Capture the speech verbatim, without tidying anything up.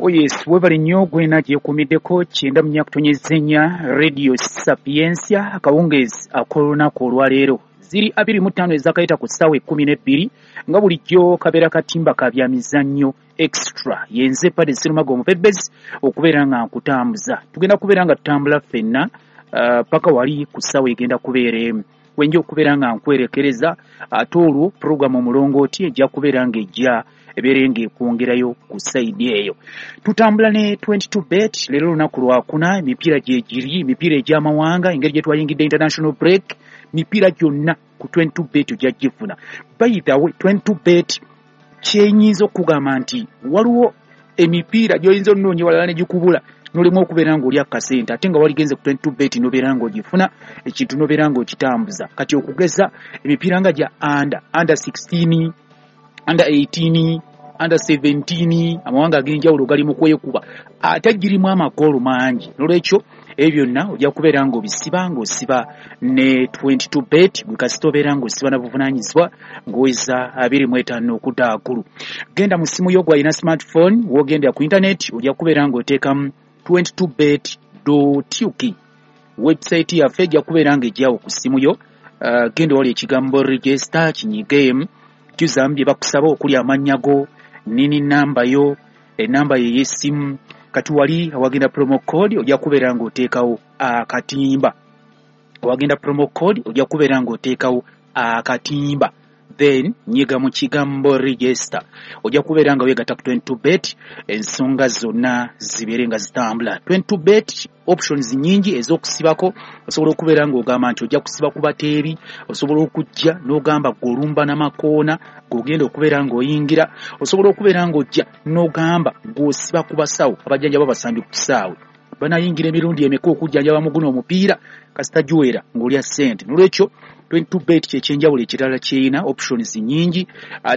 Oh yes, webale nnyo gwena gyekuumiddeko kyenda mu nnya kutonnyeza ennya Radio Sapientia. Akawungeezi ak'olunaku olwaleero ziri abiri mu ttaano ezakayita ku ssaawa ekkumi n'ebbiri. Nga bulijjo kabeera katimba ka byamizannyo extra. Yenze Pade Serumaga omupebezi okubeera nga nkutambuza. Tugenda kubeera nga tutambula ffenna uh, paka wali ku ssaawa egenda kubeera emu wenja okubeera nga nkwerekereza. Ate olwo puroguramu Omulongooti ejja kubeera ng'ejja ebeere ng'ekwongerayo ku side eyo. Tutambula ne twenty-two Bet. Leero olunaku lwakuna, emipiira gyegiri, emipiira egy'amawanga. Engeri gye twayingidde international break, mipiira gyonna ku twenty-two Bet ojja gifuna. By the way, twenty-two Bet kyenyinza okugamba nti waliwo emipiira gy'oyinza onoonya walala ne gikubula, nolemu okubeera ng'olya kasente, ate nga waligenze ku twenty-two Bet nobeera ng'ogifuna ekintu, nobeera ng'okitambuza. Kati okugeza emipiira nga gya under under sixteen, under eighteen, under seventeen, amawanga ag'enjawulo gali mu kwekuba ate girimu amagoolo mangi. Nolwekyo ebyo byonna ojja kubeera ng'obisiba ng'osiba ne twenty-two Bet. Gwe kasita obeera ng'osiba na buvunaanyizibwa ng'oweza abiri mu etaano okudda waggulu. Genda mu ssimu yo, gwalina smartphone, w'ogendera ku internet ojja kubeera ng'oteekamu twenty-two bet uk. Website yaffe ejja kubeera ng'ejjawo ku ssimu yo. uh, genda wali ekigambo "register", kinyigeemu, jjuzamu bye bakusaba okuli amannya go, nini, namba yo, enamba ye y'essimu. Kati wali awagenda promo code ojja kubeera ng'oteekawo akatimba. Awagenda promo code ojja kubeera ng'oteekawo akatimba, then nyiga mu kigambo "register". Ojja kubeera nga weegatta ku twenty-two Bet, ensonga zonna zibeere nga zitambula. twenty-two Bet options nyingi ez'okusibako. Osobola okubeera ng'ogamba nti ojja kusiba ku bateebi, osobola okujja n'ogamba gw'olumba n'amakoona g'ogenda okubeera ng'oyingira, osobola okubeera ng'ojja n'ogamba gw'osiba ku basawo abajjanjaba abasambi ku kisaawe, banayingira emirundi emeka okujjanjaba mu guno omupiira, kasita giwera ng'olya ssente. Nolwekyo twenty-two Bet kyekyenjawulo ekirala kyerina options nyingi.